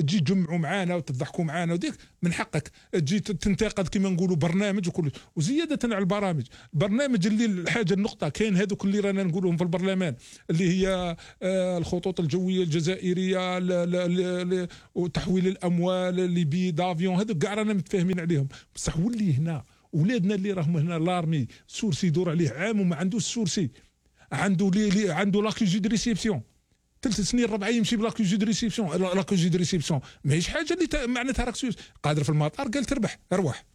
تجي تجمعوا معانا وتضحكوا معانا وديك من حقك تجي تنتقد كما نقولوا برنامج وكل. وزياده على البرامج، برنامج اللي الحاجه النقطه كاين هذوك اللي رانا نقولهم في البرلمان اللي هي الخطوط الجويه الجزائريه وتحويل الاموال لبي دافيون، هذوك كاع رانا متفاهمين عليهم. بصح ولي هنا ولادنا اللي راهم هنا لارمي سورسي يدور عليه عام وما عندوش سورسي، عنده لاكيجي دو ريسيبسيون 3 سنين 4 يمشي بلاكيجي دو ريسيبسيون. لاكيجي دو ريسيبسيون ماهيش حاجه اللي معناتها راك قادر في المطار قال تربح ارواح.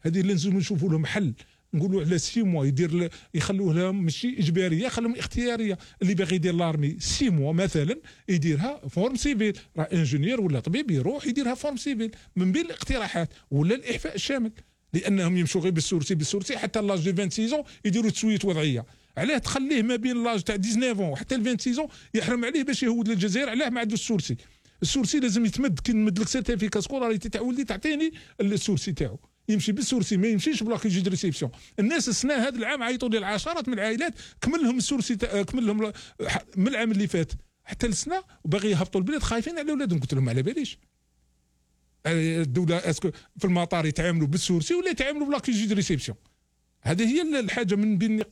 هذه اللي لازم نشوفوا لهم حل، نقولوا على 6 موا يخلوه لهم ماشي اجباريه، خلهم اختياريه. اللي باغي يدير لارمي 6 موا مثلا يديرها فورم سيفيل، راه انجينير ولا طبيب يروح يديرها فورم سيفيل من بين الاقتراحات، ولا الاعفاء الشامل، لانهم يمشوا غير بالسورسي حتى لاج دو 26 يديروا تسويه وضعيه. علاه تخليه ما بين لاج تاع 19 وحتى 26 يحرم عليه باش يهود للجزائر؟ علاه ما عندوش السورسي لازم يتمد كي نمد لك سيرتيفيكا سكولاريتي تاع ولدي تعطيني السورسي تاعو، يمشي بالسورسي ما يمشيش بلاكيجي دو ريسيبسيون. الناس السنه هذا العام عيطوا لي العشرات من العائلات كمل لهم السورسي كمل لهم من العام اللي فات حتى السنه وباغي يهبطوا البلاد خايفين على اولادهم. قلت لهم على باليش الدوله اسكو في المطار يتعاملوا بالسورسي ولا يتعاملوا بلاكيجي دو ريسيبسيون؟ هذه هي الحاجه من بين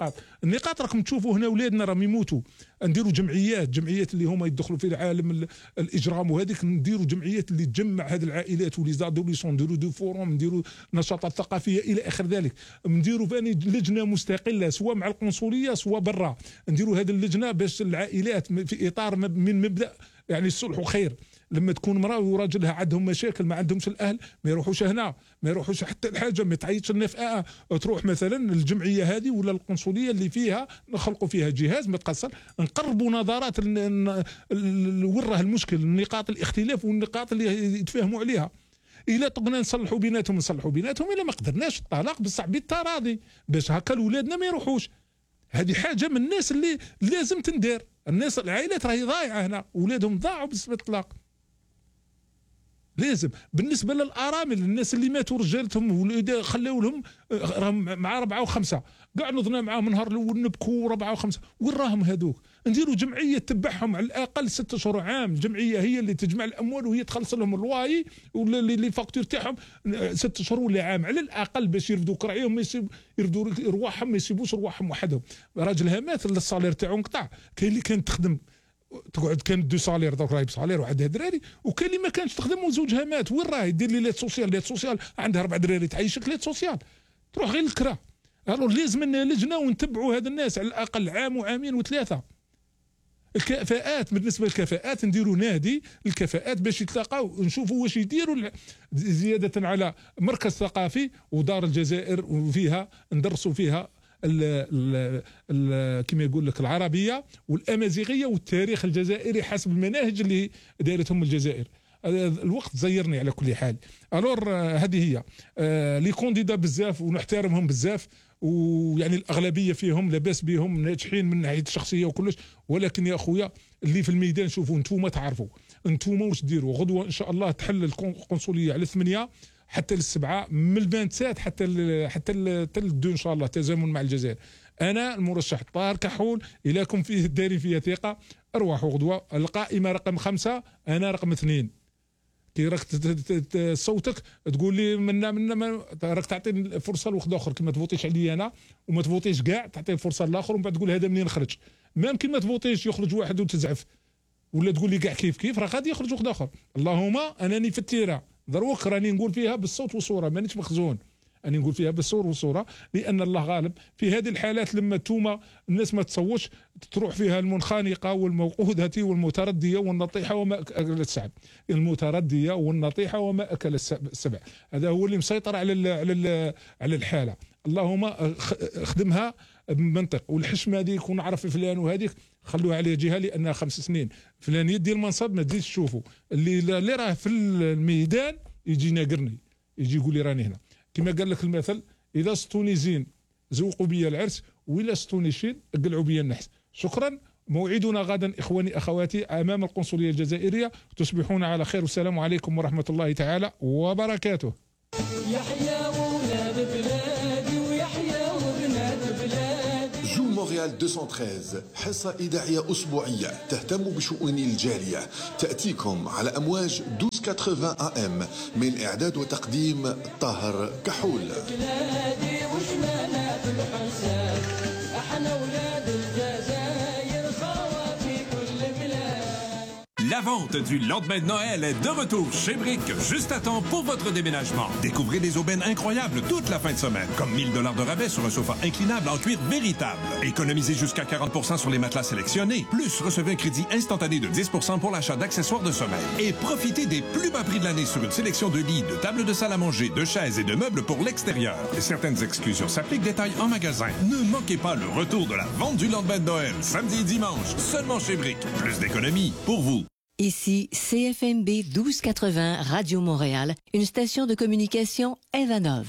النقاط راكم تشوفوا هنا اولادنا راهم يموتوا. نديروا جمعيات اللي هما يدخلوا في العالم الاجرام وهذيك، نديروا جمعيات اللي تجمع هذه العائلات ولي زادوليسون، نديروا دو فوروم، نديروا نشاطات ثقافيه الى اخر ذلك، نديروا ثاني لجنه مستقله سواء مع القنصليه سواء برا، نديروا هذه اللجنه باش العائلات في اطار من مبدا يعني الصلح وخير. لما تكون امراه وراجلها عندهم مشاكل ما عندهمش الاهل ما يروحوش هنا، ما يروحوش حتى الحاجه ما تعيطش النفقه، تروح مثلا الجمعيه هذه ولا القنصليه اللي فيها نخلقوا فيها جهاز ما تقصر، نقربوا نظرات وين راه المشكل، نقاط الاختلاف والنقاط اللي يتفاهموا عليها. الا طقنا نصلحوا بيناتهم الا ما قدرناش الطلاق بصح بالتراضي باش هكا اولادنا ما يروحوش. هذه حاجه من الناس اللي لازم تندار. الناس العائلات راهي ضايعه هنا، اولادهم ضاعوا بسبب الطلاق. لازم بالنسبه للارامل الناس اللي ماتوا رجالتهم خلاو لهم مع 4 و5 كاع نضنا معاهم النهار الاول نبكوا 4 و5 وين راهم هذوك؟ نديروا جمعيه تتبعهم على الاقل 6 شهور عام، الجمعيه هي اللي تجمع الاموال وهي تخلص لهم الواي ولا اللي فاكتور تاعهم 6 شهور ولا عام على الاقل باش يرفدوا كراعيهم يرفدوا رواحهم ما يسيبوش رواحهم وحدهم. راجلها مات الصالير تاعو انقطع، كاين اللي كانت تخدم تقعد كانت 2 صالير درك راهي بصالير وعندها دراري، وكاين اللي ما كانش تخدم وزوجها مات، وين راهي دير لي ليت سوسيال عندها 4 دراري تعيشك ليت سوسيال تروح غير الكرا. لازم لنا لجنه ونتبعوا هاد الناس على الاقل عام وعامين و3. الكفاءات بالنسبه للكفاءات نديروا نادي الكفاءات باش يتلاقاو نشوفوا واش يديروا زياده على مركز ثقافي ودار الجزائر وفيها ندرسوا فيها كما يقول لك العربيه والامازيغيه والتاريخ الجزائري حسب المناهج اللي دارتهم الجزائر. الوقت زيرني على كل حال. هذه هي لي كونديدا بزاف ونحترمهم بزاف، ويعني الاغلبيه فيهم لاباس بهم ناجحين من ناحيه الشخصيه وكلش، ولكن يا اخويا اللي في الميدان شوفوا انتوما تعرفوا انتوما واش ديروا. غدوه ان شاء الله تحل القنصليه على 8 حتى ل7 من 27 حتى ل2 ان شاء الله تزامن مع الجزائر. انا المرشح طاهر كحول اليكم فيه دارين فيها ثقه. ارواحوا غدوه القائمه رقم 5 انا رقم 2. كي راك صوتك تقول لي منا راك تعطي فرصه لواحد اخر، كي ما تفوتيش عليا انا وما تفوتيش كاع تعطي الفرصه للاخر ومن بعد تقول هذا منين خرج. ما يمكن ما تفوتيش يخرج واحد وتزعف ولا تقول لي كاع كيف راه غادي يخرج واحد اخر. اللهم انني في التيره دروك راني نقول فيها بالصوت والصوره مانيش مخزون، أني نقول فيها بالصور والصورة، لأن الله غالب. في هذه الحالات لما توما الناس ما تصوتش تروح فيها المنخنقة والموقودة والمتردية والنطيحة وما أكل السبع. المتردية والنطيحة وما أكل السبع، هذا هو اللي مسيطر على الحالة. اللهم اخدمها بمنطق. والحشمة هذيك ونعرف فلان وهذيك خلوها عليه جهة لأنها 5 سنين. فلان يدي المنصب ما تزيدش تشوفوا اللي راه في الميدان يجي ناقرني يجي يقول لي راني هنا. كما قال لك المثل إذا سطوني زين زوقوا بيا العرس وإلا سطوني شين قلعوا بيا النحس. شكرا. موعدنا غدا إخواني أخواتي أمام القنصلية الجزائرية. تصبحون على خير والسلام عليكم ورحمة الله تعالى وبركاته. يحيى ولاد بلادي ويحيى وبنات بلادي. جو مونريال 213 حصة إذاعية أسبوعية تهتم بشؤون الجالية، تأتيكم على أمواج 1280 AM من إعداد وتقديم طاهر كحول. بلادي وشمالنا في الحساب، احنا ولاد الجزائر خوا في كل بلاد. La vente du lendemain de Noël est de retour chez Brick, juste à temps pour votre déménagement. Découvrez des aubaines incroyables toute la fin de semaine, comme $1000 de rabais sur un sofa inclinable en cuir véritable. Économisez jusqu'à 40% sur les matelas sélectionnés. Plus, recevez un crédit instantané de 10% pour l'achat d'accessoires de sommeil. Et profitez des plus bas prix de l'année sur une sélection de lits, de tables de salle à manger, de chaises et de meubles pour l'extérieur. Certaines exclusions s'appliquent, détails en magasin. Ne manquez pas le retour de la vente du lendemain de Noël, samedi et dimanche, seulement chez Brick. Plus d'économies pour vous. Ici CFMB 1280 Radio Montréal, une station de communication Evanov.